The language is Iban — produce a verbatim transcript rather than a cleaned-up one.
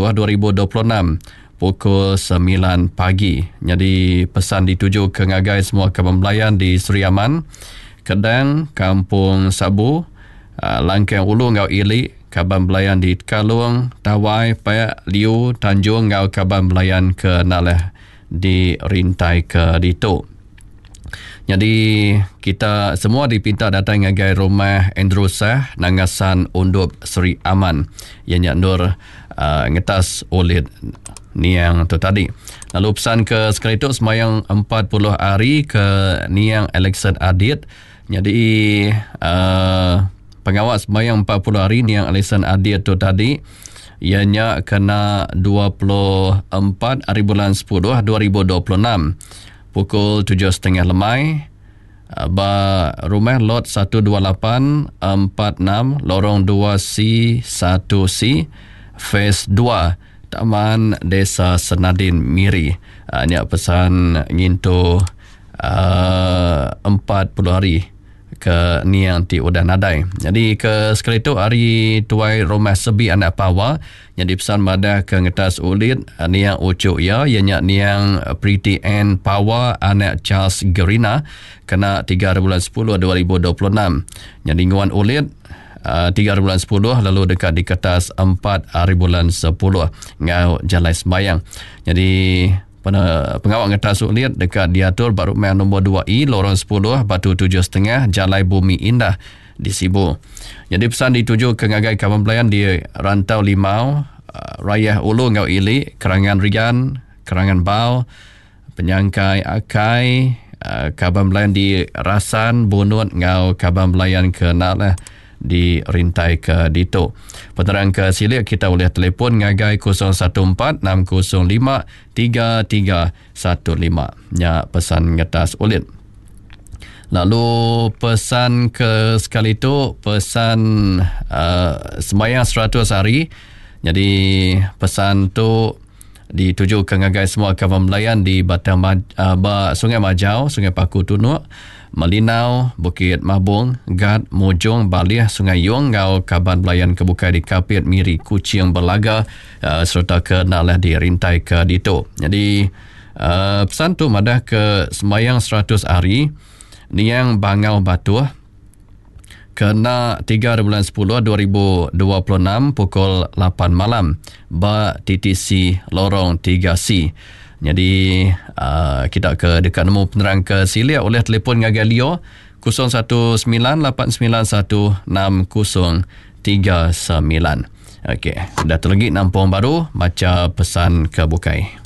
sepuluh dua ribu dua puluh enam pukul semilan pagi. Nyadi pesan dituju ke ngagai semua kaban belayan di Sri Aman, Kedang, Kampung Sabu, Langkang Ulu enggau Ili, kaban belayan di Kalung, Tawai, Pek, Liu, Tanjung enggau kaban belayan ke Naleh di Rintai ke ditu. Jadi kita semua dipinta datang ngagai rumah Andrew Sah, Nangasan Undup Sri Aman. Ia nya nur uh, ngetas ulit niang tu tadi. Lalu pesan ke sekali tu semayang empat puluh hari ke niang Alexan Adit. Jadi uh, pengawas semayang empat puluh hari niang Alexan Adit tu tadi ia nya kena dua puluh empat hari bulan sepuluh dua ribu dua puluh enam pukul tujuh setengah lemai ba rumah lot satu dua lapan empat enam lorong dua C satu C phase dua Taman Desa Senadin Miri. Nya pesan ngintu uh, empat puluh hari ke niang ti udah nadai. Jadi ke sekali tu hari tuai rumah Sebi Anak Pawa jadi pesan madah ke ngetas ulit niang ucuk ia ia nya niang Pretty Ann Pawa anak Charles Gerina kena tiga bulan sepuluh dua ribu dua puluh enam. Jadi nguan ulit tiga bulan sepuluh lalu dekat di kertas empat hari bulan sepuluh ngau jalai sembayang. Jadi pengawal ngetas ulit dekat diatur baru rumah nombor dua E lorong sepuluh Batu tujuh setengah Jalai Bumi Indah di Sibu. Jadi pesan dituju ke ngagai kawan pelayan di Rantau Limau, Rayah Ulu ngau Ili, Kerangan Rian, Kerangan Bau, Penyangkai Akai, kawan pelayan di Rasan, Bunut ngau kawan pelayan ke Nalah di Rintai ke Dito. Penerang ke silik kita boleh telefon ngagai kosong satu empat enam kosong lima tiga tiga satu lima. Nya pesan ngetas ulit. Lalu pesan ke sekali tu pesan uh, sembahyang seratus hari. Jadi pesan tu dituju ke ngagai semua kawan belayan di Batang uh, ba Sungai Majau, Sungai Paku Tunuk, Melinau, Bukit Mabung, Gad, Mujong, Balih, Sungai Yong ngau kaban belayan kebukai di Kapit, Miri, Kuching, Belaga uh, serta ke Nalah di Rintai ke Dito. Jadi uh, pesan tu madah ke sembahyang seratus hari niang Bangau Batuh kena tiga bulan sepuluh dua ribu dua puluh enam pukul lapan malam ba T T C Lorong tiga C. Jadi uh, kita ke dekat nemu penerang ke silik oleh telefon ngagai Leo kosong satu sembilan lapan sembilan satu enam kosong tiga sembilan. Okey, dah terlegi nampung baru baca pesan ke bukai.